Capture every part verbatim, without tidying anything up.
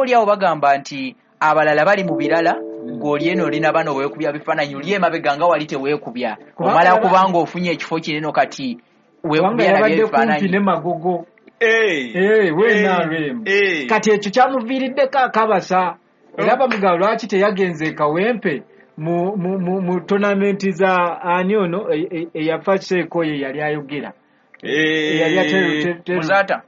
oli awo bagamba nti abalala bali mu birala, gw'oli eno olina bano weekubya bifaananyi, oli emabega nga wali teweekubya, omala kubanga ofunye ekifo kinene kati weekubya nabyo ebifaananyi. Ne Magogo we N R M kati ekyo kyamuviiriddeko akabasa, era bamugamba lwaki teyagenze e Kawempe mu mu mu tournament za ani ono eyafa Sheeko ye yali ayogera Muzaata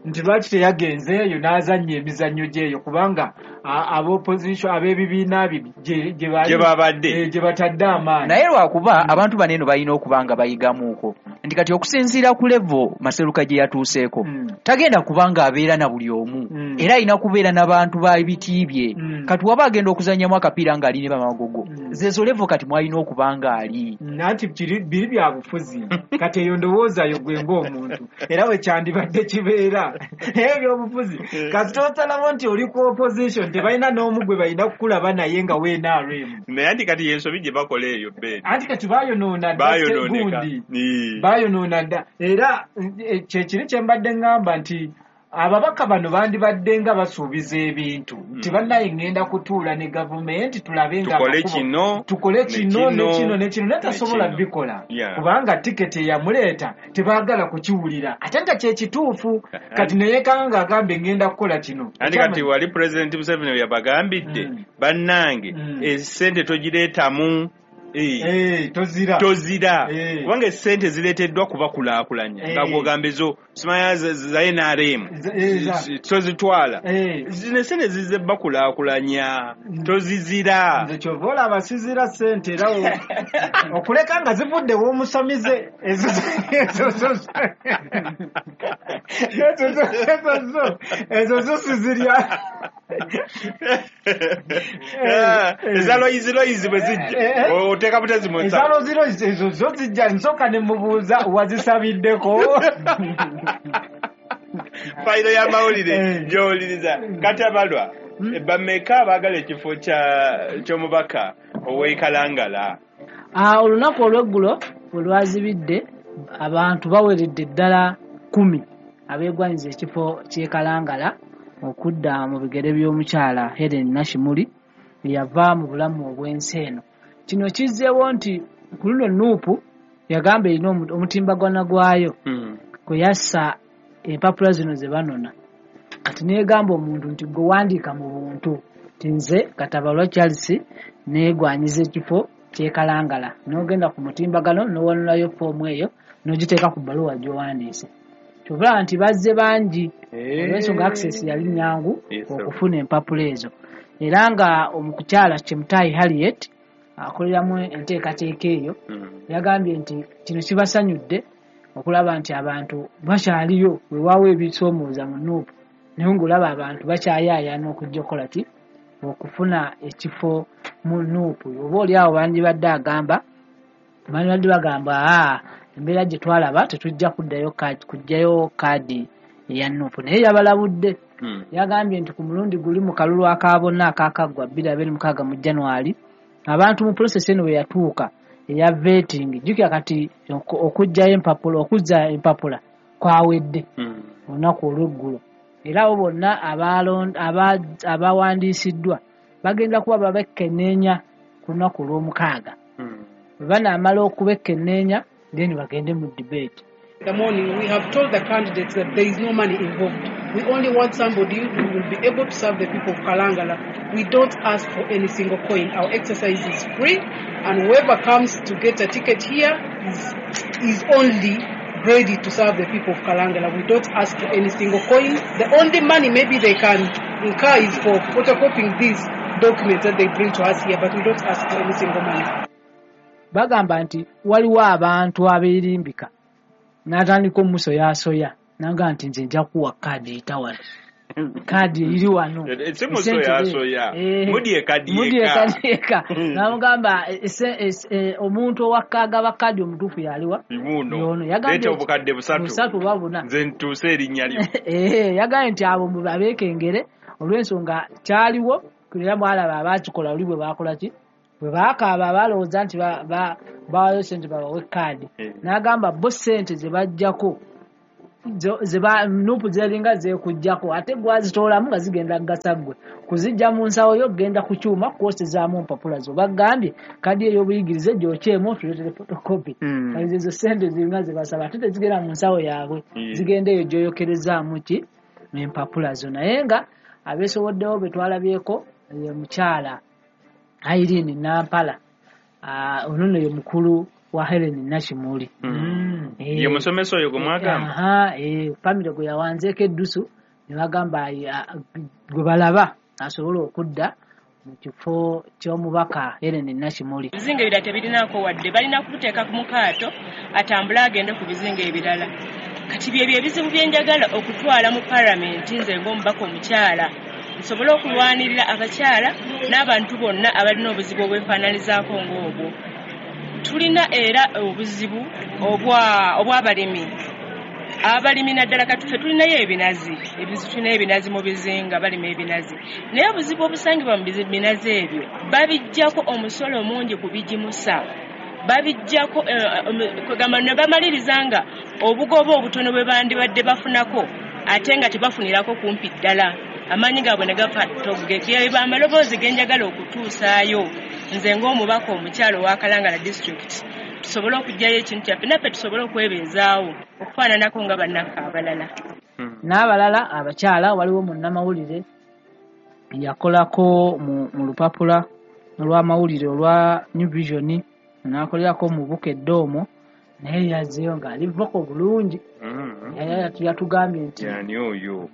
nti lwaki teyagenzeeyo n'azannya emizannyo gyeyo, kubanga ab'opposition ab'ebibiina gye babadde gye batadde amaanyi. Naye lwakuba abantu bano eno balina okuba nga bayigamuuko nti kati okusinziira ku level Maseruka gye yatuuseeko tagenda kuba nga abeera na buli omu, era alina kubeera n'abantu ba biti bye. Kati waba agenda okuzannyamu akapiira ng'ali ne Bamagogo, zezo level kati mwalina okuba nga ali. Anti biri bya bufuzi, kati eyo ndowoozayo gwe ng'omuntu era bwe kyandibadde kibeera. Naye ebyobufuzi kasita osalabo nti oli ku opposition tebalina n'omu gwe balina kukulaba naye nga we N R M. Naye anti kati y'ensobi gye bakola eyo Ben, anti kati bayonoona dda gundi, bayonoona dda. Era kyekiri kye mbadde ŋŋamba nti ababaka bano bandibadde nga basuubiza ebintu nti bannaye ŋŋenda kutuula ne gavumenti tulabe nga tukole kino tukole kino ne kino ne kino, naye tasobola bikola kubanga tiketi eyamuleeta tebaagala kukiwulira, ate nga kyekituufu. Kati neyekanga ng'agambe ŋŋenda kukola kino. Anti kati wali Pulezidenti Museveni yabagambidde bannange essente togireetamu tozira tozira kubanga essente zireeteddwa kubakulaakulanya nga gw'ogamba ezo simanya za N R M tozitwala, zino essente zizze bakulaakulanya tozizira. Nze kyova olaba sizira ssente era okuleka nga zivudde w'omusamize ezo ezo zo sizirya. Eza loyizi loyizi bwe zijja oteeka butezi mu nsawo. Eza loyizi loyizi ezo zo zijja nsooka ne mubuuza wazisabiddeko. Fayiro y'amawulire gy'owuliriza. Katabalwa, bameka abaagala ekifo ky'omubaka ow'e Kalangala? Olunaku olw'eggulo bwe lwazibidde abantu baweredde ddala kkumi abeegwanyiza ekifo ky'e Kalangala okudda mu bigere by'omukyala Helen Nashimuli eyava mu bulamu obw'ensi eno. Kino kizzeewo nti ku luno Nuupu yagamba erina omutimbagano gwayo kwe yassa empapula zino ze banona. Kati neegamba omuntu nti gwe wandiika mu buntu nti nze Katabalwa Charles neegwanyiza ekifo ky'e Kalangala, n'ogenda ku mutimbagano n'owanulayo foomu eyo n'ogiteeka ku bbaluwa gy'owandiise. Kyova nti bazze bangi olw'ensonga access yali nnyangu okufuna empapula ezo. Era nga omukyala Chemtai Harriet akoleramu enteekateeka eyo yagambye nti kino kibasanyudde okulaba nti abantu bakyaliyo, weewaawo ebisoomooza mu Nuupu, naye ng'olaba abantu bakyayaayana okujja okukola ki okufuna ekifo mu Nuupu. Oba oli awo bandibadde agamba bandibadde bagamba aa embeera gye twalaba tetujja kuddayo kuggyayo kaadi eya Nuupu, naye yabalabudde. Yagambye nti ku mulundi guli mu kalulu aka bonna akaakaggwa bbiri abiri mukaaga mu January, abantu mu process eno bwe yatuuka eya vetting, jjukira kati okuggyayo empapula okuzza empapula kwawedde olunaku olw'eggulo, era abo bonna abawandiisiddwa bagenda kuba babekkenneenya ku lunaku olw'omukaaga. Bwe banaamala okubekkenneenya then bagende mu debate. The morning we have told the candidates that there is no money involved. We only want somebody who will be able to serve the people of Kalangala. We don't ask for any single coin. Our exercise is free, and whoever comes to get a ticket here is, is only ready to serve the people of Kalangala. We don't ask for any single coin. The only money maybe they can incur is for photocopying these documents that they bring to us here, but we don't ask for any single money. Bagamba nti waliwo abantu abeerimbika n'atandika omusoyaasoya n'agamba nti nze nja kuwa kaadi eyita wano, kaadi eri wano. Si musoyaasoya, mudye kaadi yekka. N'amugamba omuntu owakkaagaba kaadi omutuufu yaliwa yono. Yagambye obukadde busatu oba buna, nze ntuuse erinnya lyo. Yagambye nti abo abeekengere olw'ensonga kyaliwo era mwalaba abaakikola oli bwe baakola ki bwe baakaaba balowooza nti bawaayo ssente babawe kaadi. N'agamba bo ssente ze bajjako Zeba nupu zeringa zekujjako ate gwazitoolamu nga zigenda kugasa ggwe kuzijja mu nsawo yo genda ku kyuma kwosezaamu mpapula zo bagambye kadi ey'obuyigirize gyokyemu otuleetere photocopy Mm. kati ezo sente ziringa zebasaba ate tezigenda mu nsawo yaabwe Yeah. zigenda eyo gyoyokerezaamu ki empapula zo naye nga abeesoboddewo be twalabyeko ye mukyala Irene Nampala ah, ono nno ye mukulu wa Helen Nakimuli Mm. Eh, Ye musomesa oyo gwe mwagamba. Aha, eh, famire gwe yawanzeeko eddusu ne bagamba ayi- a- gwe balaba asobole okudda mu kifo ky'omubaka Helen Nakimuli. Ebizinga ebirala tebirinaako wadde balina kubuteeka ku mukaato atambule agende ku bizinga ebirala. Kati byebyo ebizibu bye njagala okutwala mu palamenti nze ng'omubaka omukyala nsobole okulwanirira abakyala n'abantu bonna abalina obuzibu obwefaananizaako ng'obwo. Tulina era obuzibu obwa obw'abalimi. Abalimi naddala kati ffe tulinayo ebinazi, ebizi tulinayo ebinazi mu bizinga balima ebinazi. Naye obuzibu obusangibwa mu bizi- binazi ebyo babiggyako omusolo mungi ku bigimusa. Babiggyako eh, um, kugamba ne bamaliriza nga obugoba obutono bwe bandibadde bafunako ate nga tebafunirako kumpi ddala. Amaanyi gaabwe ne gafa ttogge. Byebyo amaloboozi ge njagala okutuusaayo nze ng'omubaka omukyala owa Kalangala district tusobole okuggyayo ekintu kyaffe naffe tusobole okwebeezaawo okufaananako nga bannaffe abalala. N'abalala abakyala waliwo munnamawulire yakolako mu, mu lupapula olw'amawulire olwa New Vision n'akolerako mu Bukedde omwo naye yazzeeyo ng'ali voko bulungi. Mm. Yali yatugambye nti Yani oyo.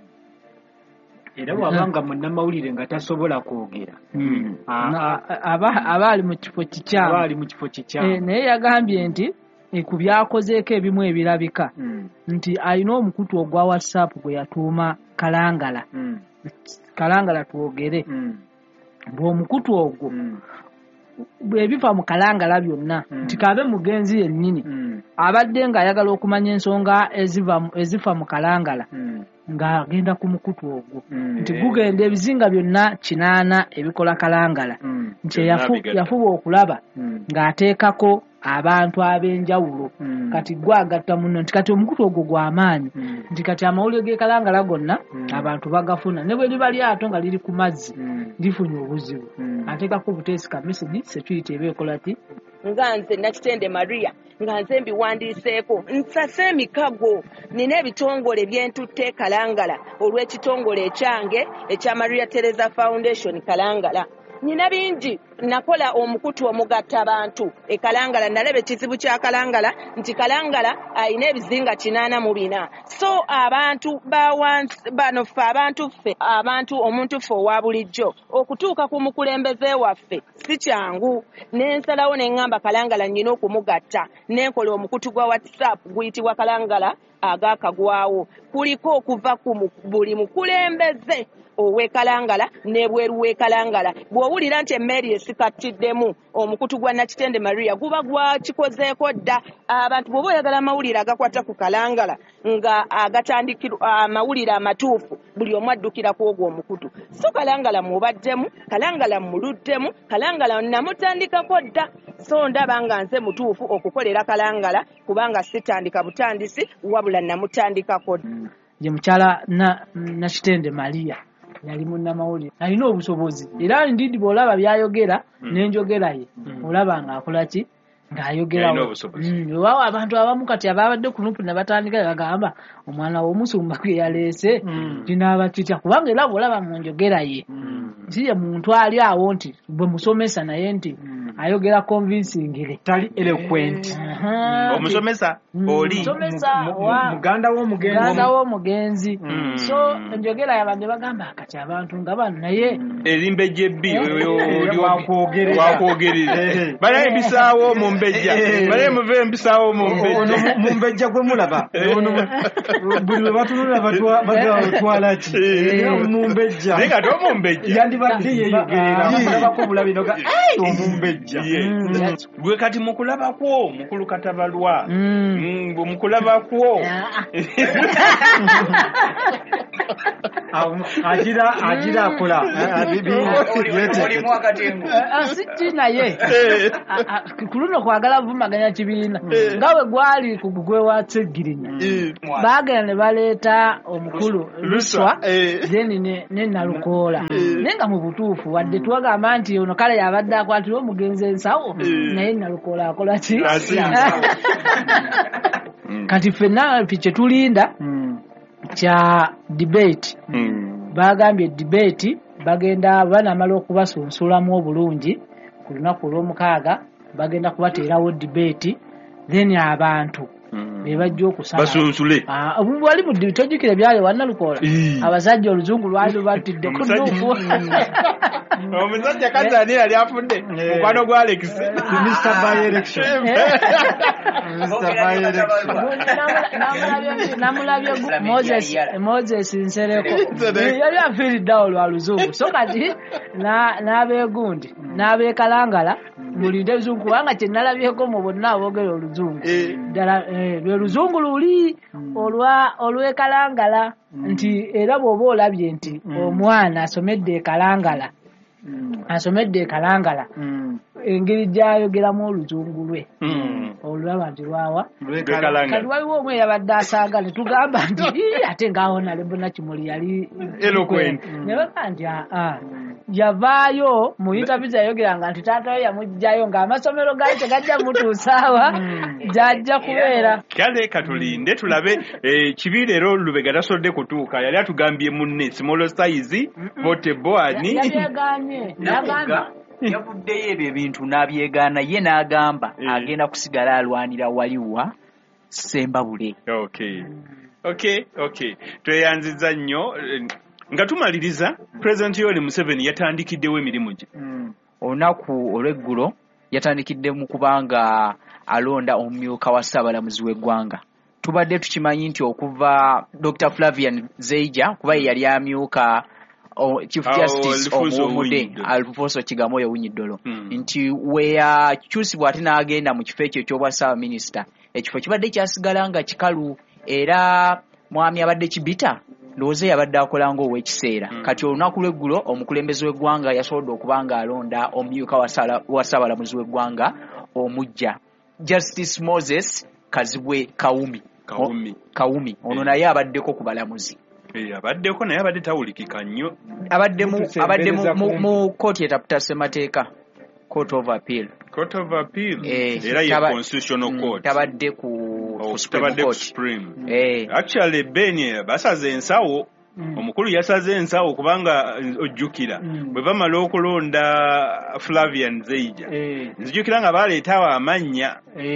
Era bw'abanga munnamawulire nga tasobola kwogera Mm. Ah, Na- aba aba ali mu kifo kikyamu. aba ali mu kifo kikyamu. Eh, naye yagambye nti eh, ku byakozeeko ebimu ebirabika Mm. nti alina omukutu ogwa WhatsApp gwe yatuuma Kalangala Mm. Kalangala twogere Mm. bw'omukutu ogwo Mm. ebifa mu Kalangala byonna Mm. nti kabe mugenzi yennyini Mm. abadde ng'ayagala okumanya ensonga eziva mu- ezifa mu Kalangala Mm. ng'agenda ku mukutu ogwo Mm. nti gugenda ebizinga byonna kinaana ebikola Kalangala Mm. nti Byonna yafu- bigatta. yafuba okulaba Mm. ng'ateekako abantu ab'enjawulo Mm. kati gwagatta muno nti kati omukutu ogwo gw'amaanyi Mm. nti kati amawulire g'e Kalangala gonna Mm. abantu bagafuna ne bwe liba lyato nga liri ku mazzi Mm. lifunye obuzibu Mm. ateekako obuteesi ka message security eba ekola ki nga nze Nakitende Maria nga nze mbiwandiiseeko nsase emikago nina ebitongole byentutte e Kalangala olw'ekitongole ekyange ekya Maria Teresa Foundation Kalangala. Nina bingi nakola omukutu omugatta abantu e Kalangala nalaba ekizibu kya Kalangala nti Kalangala alina ebizinga kinaana mu bina so abantu ba wansi bano ffe abantu ffe abantu omuntu ffe owa bulijjo okutuuka ku mukulembeze waffe si kyangu nensalawo ne ŋŋamba Kalangala nnyina okumugatta nenkola omukutu gwa WhatsApp guyitibwa Kalangala agakagwawo kuliko okuva ku mu- buli mukulembeze ow'e Kalangala n'ebweru w'e Kalangala bw'owulira nti emmeri esikattiddemu omukutu gwa Nakitende Maria guba gwakikozeeko dda abantu bw'oba oyagala amawulire agakwata ku Kalangala nga agatandikirwa amawulire amatuufu buli omu addukira ku ogwo omukutu so Kalangala mubaddemu Kalangala muluddemu Kalangala namutandikako dda so ndaba nga nze mutuufu okukolera Kalangala kubanga sitandika butandisi wabula namutandikako dda. Ye mukyala na Nakitende Maria yali munnamawulire alina obusobozi era ndidi bw'olaba by'ayogera Mm. n'enjogera ye Mm. olaba ng'akola ki ng'ayogera Alina obusobozi. Mm, weewaawo abantu abamu kati ababadde ku Nupu ne batandika ne bagamba omwana w'omusumba gwe yaleese Mm. kinaaba kitya kubanga era bw'olaba mu njogera ye Mm. si ye muntu ali awo nti bwe musomesa naye nti Mm. ayogera convincingly Tali eloquent. Aha, Omusomesa Mm. oli. Omusomesa Mu- mu- wa- muganda w'omugenzi. muganda w'omugenzi Mm. so enjogera y'abantu ne bagamba kati abantu nga bano naye Erimbejja ebbi Eh, wakwogerera. wakwogerera. Eh. Balaye mbisaawo mu mbejja. Eh. Balaye muve mbisaawo mu Ono mbejja. mu- mumbejja gwe mulaba ono buli lwe batunula batwa- batwala ki Eh. omumbejja Naye nga tomumbejja. yandibadde yeeyogerera Ah. mulabako bulabi noga "Ai, omumbejja." Ejja. Gwe kati mukulabakwo mukulu Katabalwa, mukulabakwo agira agira akola si naye ku luno kwagala vumaganya kibiina nga bwe gwali ku gugwe wa Ssegirinya, baagenda ne baleeta omukulu Luswa then ne Nalukoola, naye nga mu butuufu wadde twagamba nti ono kale yabadde akwatira omugenzi ensawo, naye Nalukoola akola ki? Kati ffenna kye tulinda kya debate. Bagambye debate bagenda banamala okubasunsulamu obulungi ku lunaku olw'omukaaga, bagenda kubateerawo debate, then abantu be bajja okusala basunsule. Wali mu tojjukira byali wa Nalukoola, abasajja oluzungu lwali lubattidde ku nnuufu. Omusajja kati ani yali afudde mukwano gwa Alex Mister By Election. Mister By Election namulabye Moses Moses Nsereko yali afiiridde awo lwa luzungu. So kati n'abeegundi n'abeekalangala mulinde oluzungu, kubanga kye nalabyeko mu bonna aboogera oluzungu ddala lwe luzungu luli olwa olw'ekalangala, nti era bw'oba olabye nti omwana asomedde ekalangala asomedde ekalangala engeri gy'ayogeramu oluzungu lwe olulaba nti lwawa. Kati waliwo omwe yabadde asaaga ne tugamba nti ate ng'awo Nalebo Nakimuli yali eloquent, ne bagamba nti aa yavaayo mu interview yayogeranga nti taata we yamuggyayo ng'amasomero gaali tegajja mutuusaawa gy'ajja kubeera. Kale katulinde tulabe kibi leero Lubega tasobodde kutuuka, yali atugambye munne small size portable ani yabyegaanye yagamba yavuddeyo ebyo ebintu n'abyegaana, ye n'agamba agenda kusigala alwanira waliwa Ssembabule. Okay, okay, okay, tweyanzizza nnyo. Nga tumaliriza, President Yoweri Museveni yatandikiddewo emirimu gye olunaku olw'eggulo, yatandikidde mu kubanga alonda omumyuka wa ssaabalamuzi w'eggwanga. Tubadde tukimanyi nti okuva Doctor Flavian Zeija, kuba ye yali amyuka Chief Justice omuwumudde Alfonso Kigamoyo Owiny-Dollo, nti we yakyusibwa ate n'agenda mu kifo ekyo eky'obwa ssaabaminisita, ekifo kibadde kyasigala nga kikalu, era mwami abadde Kibita ndowooza yabadde akola ng'ow'ekiseera. Kati olunaku lw'eggulo omukulembeze w'eggwanga yasobodde okuba nga alonda omumyuka wa ssaabalamuzi w'eggwanga omuggya, Justice Moses Kazibwe Kawumi. Kawumi, Kawumi ono naye abaddeko ku balamuzi. Abaddeko naye abadde tawulikika nnyo, abadde mu abadde mu kkooti etaputa ssemateeka, Court of Appeal. Court of Appeal era ye Constitutional Court, tabadde ku Supreme. Actually Ben basaze ensawo, omukulu yasaze ensawo kubanga ojjukira bwe bamala okulonda Flavian Zeija, nzijukira nga baleetawo amannya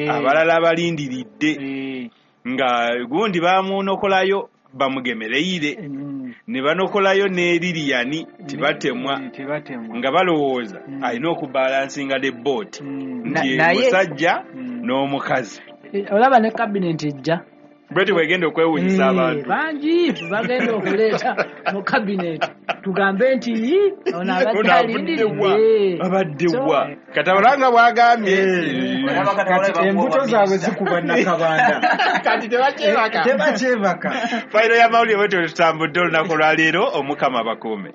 abalala abalindiridde nga gundi bamunokolayo bamugemereire ne banokolayo ne Lilian tibatemwa nga balowooza alina okubalansinga the boat nti musajja n'omukazi. Olaba ne cabinet ejja bweti bwegenda okwewunyisa abantu bangi bagenda okuleeta mu cabinet tugambe nti ono abadde alindiridde abadde wa Katabalanga bwagambye kati embuto zaabwe zikuba Nakabanda kati tebakyebaka tebakyebaka. Fayiro y'amawulire bwetyo tutambudde olunaku lwaleero, Omukama abakuume.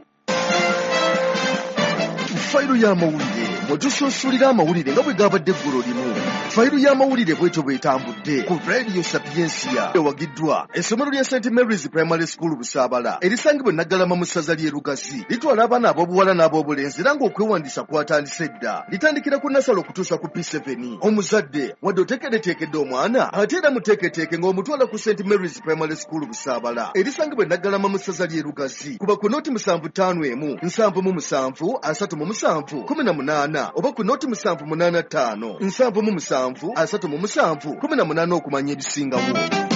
Fayiro y'amawulire mwetusunsulira amawulire nga bwe gabadde eggulo limu. Fayiro y'amawulire bwetyo bwetambudde ku Radio Sapiensia, ewagiddwa essomero lya Saint Mary's Primary School Busaabala erisangibwa e Naggalama mu ssaza ly'e Lugazi. Litwala abaana ab'obuwala n'ab'obulenzi era ng'okwewandiisa kwatandise dda. Litandikira ku nasale okutuusa ku P seven. Omuzadde wadde oteekereteekedde omwana, ate era muteeketeeke ng'omutwala ku Saint Mary's Primary School Busaabala erisangibwa e Naggalama mu ssaza ly'e Lugazi. Kuba ku noti musanvu ttaano emu nsanvu mu musanvu asatu mu musanvu kumi na munaana oba ku noti musanvu munaana ttaano nsanvu mu musanvu asatu mu musanvu kumi na munaana okumanya ebisingawo.